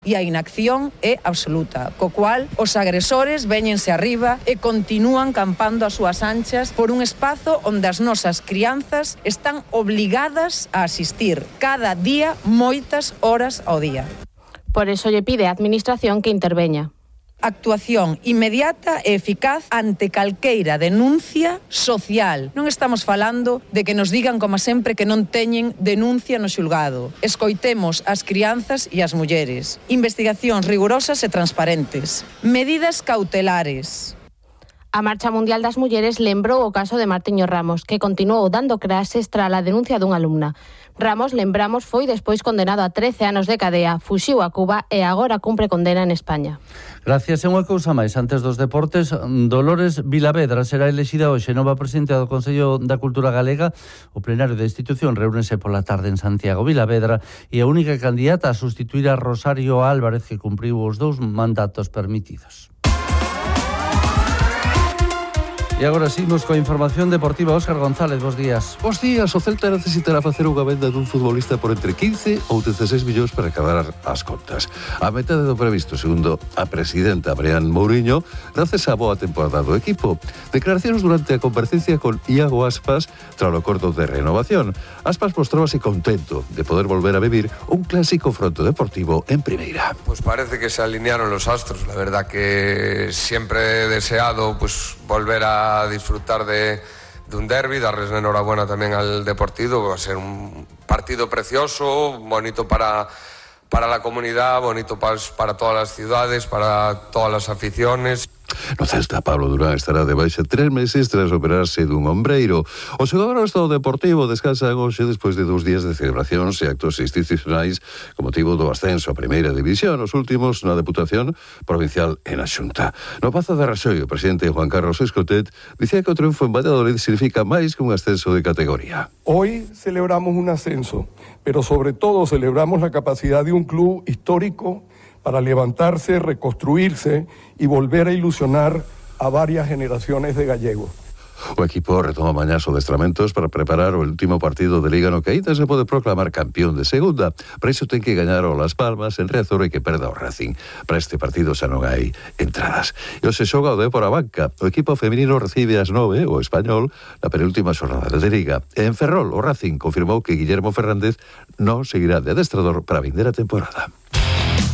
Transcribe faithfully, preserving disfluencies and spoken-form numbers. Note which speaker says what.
Speaker 1: E a inacción é absoluta, co cual os agresores véñense arriba e continúan campando as súas anchas por un espazo onde as nosas crianzas están obligadas a asistir cada día moitas horas ao día.
Speaker 2: Por eso lle pide á Administración que interveña.
Speaker 1: Actuación inmediata e eficaz ante calqueira denuncia social. Non estamos falando de que nos digan, como sempre, que non teñen denuncia no xulgado. Escoitemos as crianzas e as mulleres. Investigacións rigurosas e transparentes. Medidas cautelares.
Speaker 2: A Marcha Mundial das Mulleres lembrou o caso de Martiño Ramos, que continuou dando clases tras a denuncia dunha alumna. Ramos, lembramos, foi despois condenado a trece anos de cadea, fuxiu a Cuba e agora cumpre condena en España.
Speaker 3: Gracias. E unha cousa máis, antes dos deportes, Dolores Vilavedra será elexida hoxe nova presidenta do Consello da Cultura Galega. O plenario da institución reúnese pola tarde en Santiago. Vilavedra é a única candidata a sustituir a Rosario Álvarez, que cumpriu os dous mandatos permitidos. E agora seguimos coa información deportiva. Óscar González, bos días.
Speaker 4: Bos días. O Celta necesitará facer unha venda dun futbolista por entre quince ou dezasseis millóns para acabar as contas. A metade do previsto, segundo a presidenta Brian Mourinho, gracias á boa temporada do equipo. Declaracións durante a comparecencia con Iago Aspas tras o acordo de renovación. Aspas mostrábase contento de poder volver a vivir un clásico fronto deportivo en primeira.
Speaker 5: Pues parece que se alinearon los astros. La verdad que siempre he deseado pues volver a a disfrutar de, de un derbi, darles la enhorabuena también al Deportivo. Va a ser un partido precioso, bonito para, para la comunidad, bonito para, para todas las ciudades, para todas las aficiones.
Speaker 4: No Celta, Pablo Durán estará de baixa tres meses tras operarse dun ombreiro. Os xogadores do Deportivo descansan hoxe despois de dous días de celebracións e actos institucionais con motivo do ascenso a Primeira División, os últimos na Deputación Provincial e na Xunta. No Pazo de Raxoi, o presidente Juan Carlos Escotet dicía que o triunfo en Valladolid significa máis que un ascenso de categoría.
Speaker 6: Hoy celebramos un ascenso, pero sobre todo celebramos la capacidad de un club histórico para levantarse, reconstruirse y volver a ilusionar a varias generaciones de gallegos.
Speaker 4: O equipo retoma mañá os adestramentos para preparar o último partido de Liga no que aínda se pode proclamar campeón de segunda. Para iso ten que gañar o Las Palmas en Riazor e que perda o Racing. Para este partido xa non hai entradas. E o se xoga o Dépor a banca. O equipo feminino recibe ás nove o Español na penúltima xornada de Liga. E en Ferrol o Racing confirmou que Guillermo Fernández non seguirá de adestrador para a vindeira temporada.